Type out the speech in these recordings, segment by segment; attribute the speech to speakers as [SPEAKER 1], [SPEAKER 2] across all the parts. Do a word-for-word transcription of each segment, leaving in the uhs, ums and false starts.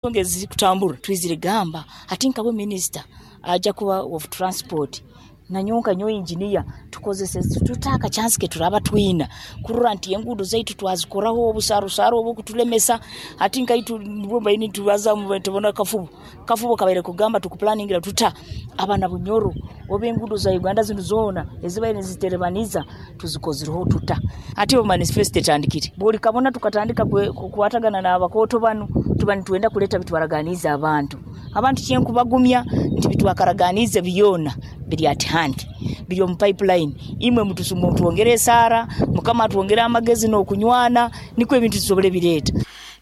[SPEAKER 1] Ensonga ezikutambura twizire gamba hati nkawe minisita aja kuba of transport, nanyowe nka nyowe engineer, tukozese tuta akachansi keturaba twina kurora nti enguudo zaitu twazikoraho obusarusaaru obukutulemesa. Hati nkaitu nibwo mbaire nitubaza tubona kafubo kafubo kabaire kugamba tukupulaningira tuta abaana Bunyoro oba enguudo za Uganda zinu zoona ezibaire niziterebaniza tuzikozireho tuta. Hati obu manifesto etandikire buri kabona tukatandika kukwatagana n'abakooto banu, tuba nitwenda kuleta bitwaraganiize abantu abantu. Kyenkubagumya nti bitwakaraganiize byona biri at hand, biri omu pipeline. Imwe mutwongere esaara, Mukama atwongere amagezi n'okunywana, nikwo ebintu tusobole bireeta.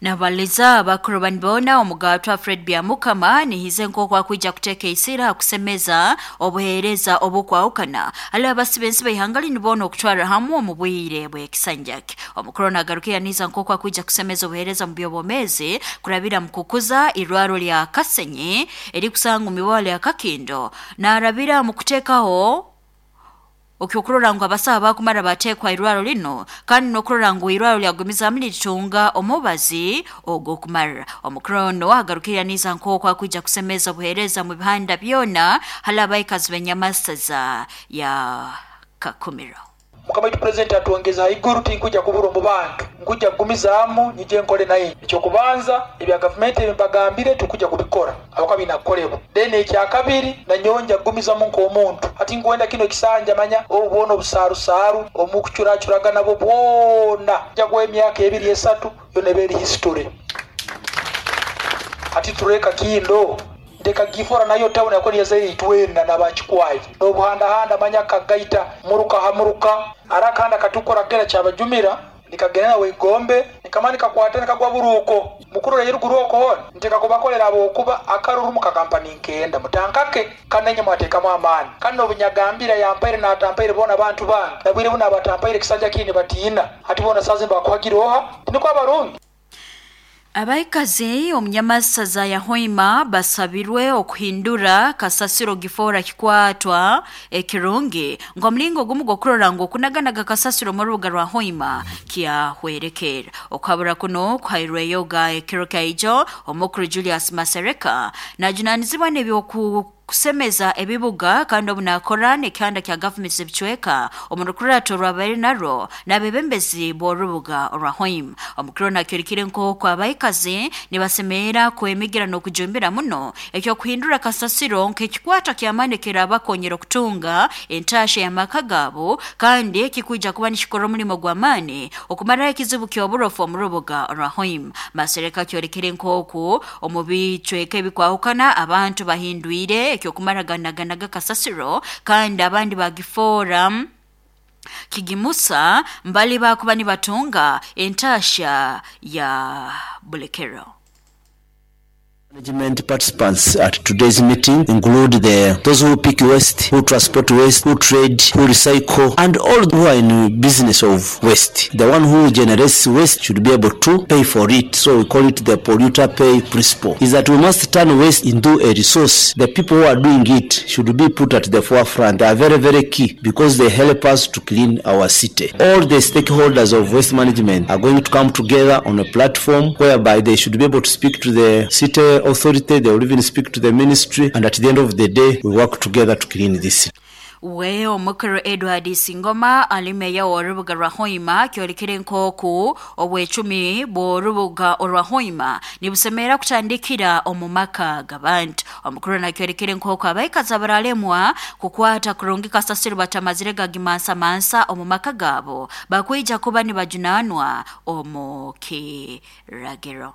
[SPEAKER 2] Nabaliza abakuru banibona omugatwa Fred Byamukama nihize nk'oku akwija kuteeka isira akusemeza obuheereza obukwahukana hali abasibensi b'ihanga nibona okutwara hamwe omu bwire bw'ekisanjake. Omukuru nagaruka yaniza nk'oku akwija kusemeza obuheereza mu by'obwomeezi kurabira mu kukuza irwaro lya Kasenyi erikusanga mu mibwalo ya Kakindo, narabira mu kuteekaho okyokurora ngu abasaha bakumara bateekwa irwaro lino, kandi n'okurora ngu irwaro lyagumizamu niritunga omubazi ogw'okumara. Omukuru ono agarukire yaniza nk'oku akwija kusemeza obuheereza mu bihanda byona hali abaikazi b'enyamasaza ya Kakumiro.
[SPEAKER 3] Mukama waitu purezidenti atwongeza haiguru, tinkuja kubura omu bantu, nkuja kugumizaamu nyije nkole naye. Ekyokubanza, ebya gavumenti ebimbagambire tukuja kubikora abakuba binakukolebwa. Then ekyakabiri, nanyonja kugumizamu nk'omuntu. Hati nkwenda kino ekisanja manya obu bwona obusarusaaru omukucuracuraga nabo bwona nja kuwa emyaka ebiri esatu yona eba eri history. Hati tureka kindo ndeka gifora nayo tawuni yakoni yazaire itwena n'abakikwayi n'obuhandahanda manya kagaita muruka hamuruka arakahanda katukora kera kyabajumira nikagenda nawe igombe nikamani kakwata nikagwa buruko mukuru ruguru oko hona nteka kubakolera abokuba akaruru mu kakampani nkenda mutankake kanenye mwatekamu amaani kandi obunyagambira yampaire natampaire bona abantu bange nabwire buno abatampaire kisanja kini batiina hati bona sazi mbakuhagira oha tiniko abarungi.
[SPEAKER 2] Abaikazi omunyamasaza ya Hoima basabirwe okuhindura kasasiro gifora kikwatwa ekirungi ng'omulingo gumu gw'okurora ngu okunaganaga kasasiro mu rubuga rwa Hoima kyahwerekera. Okuhabura kuno kuhairweyo ga ekiro kyaijo omukuru Julius Masereka najunanizibwa n'ebyoku kusemeza ebibuga, kandi obu nakora n'ekihanda kya gavumenti z'ebicweka omu rukurato rwabaire narwo n'abebembezi b'orubuga orwa Hoima. Omukuru nakyorekire nk'oku abaikazi nibasemerera kwemigira n'okujumbira muno ekyokuhindura kasasiro nk'ekikwata ky'amaani kirabakonyera okutunga entasha y'amaka gaabo, kandi ekikwija kuba nikikora omulimo gw'amaani okumaraho ekizibu ky'oburofu omu rubuga orwa Hoima. Masereka kyorekire nk'oku omu bicweka ebikwahukana abantu bahindwire ekyokumaraganaganaga kasasiro, kandi abandi bagifora kigimusa mbali bakuba nibatunga entasha ya bulekero.
[SPEAKER 4] Management participants at today's meeting include the those who pick waste, who transport waste, who trade, who recycle, and all who are in business of waste. The one who generates waste should be able to pay for it. So we call it the polluter pay principle. Is that we must turn waste into a resource. The people who are doing it should be put at the forefront. They are very, very key because they help us to clean our city. All the stakeholders of waste management are going to come together on a platform whereby they should be able to speak to the city authority, they will even speak to the ministry, and at the end of the day, we work together to clean this city.
[SPEAKER 2] We omukuru Edward Singoma ali meya w'orubuga rwa Hoima kyorekire nk'oku obwecumi bw'orubuga orwa Hoima nibusemera kutandikira omu maka g'abantu. Omukuru nakyorekire nk'oku abaikazi abaralemwa kukwata kurungi kasasiro batamazire gagimansamansa omu maka gaabo bakwija kuba nibajunanwa omu kiragiro.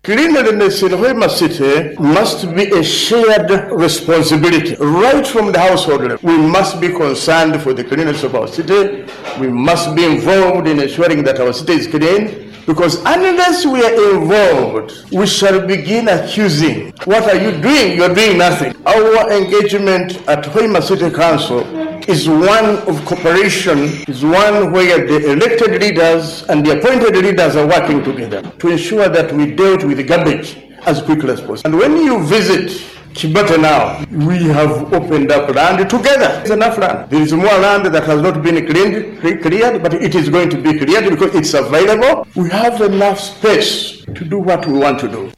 [SPEAKER 5] Cleanliness in Hoima City must be a shared responsibility right from the household level. We must be concerned for the cleanliness of our city. We must be involved in ensuring that our city is clean, because unless we are involved, we shall begin accusing. What are you doing? You're doing nothing. Our engagement at Hoima City Council is one of cooperation, is one where the elected leaders and the appointed leaders are working together to ensure that we dealt with the garbage as quickly as possible. And when you visit Kibata now, we have opened up land together. There's enough land. There is more land that has not been cleaned, cleared, but it is going to be cleared because it's available. We have enough space to do what we want to do.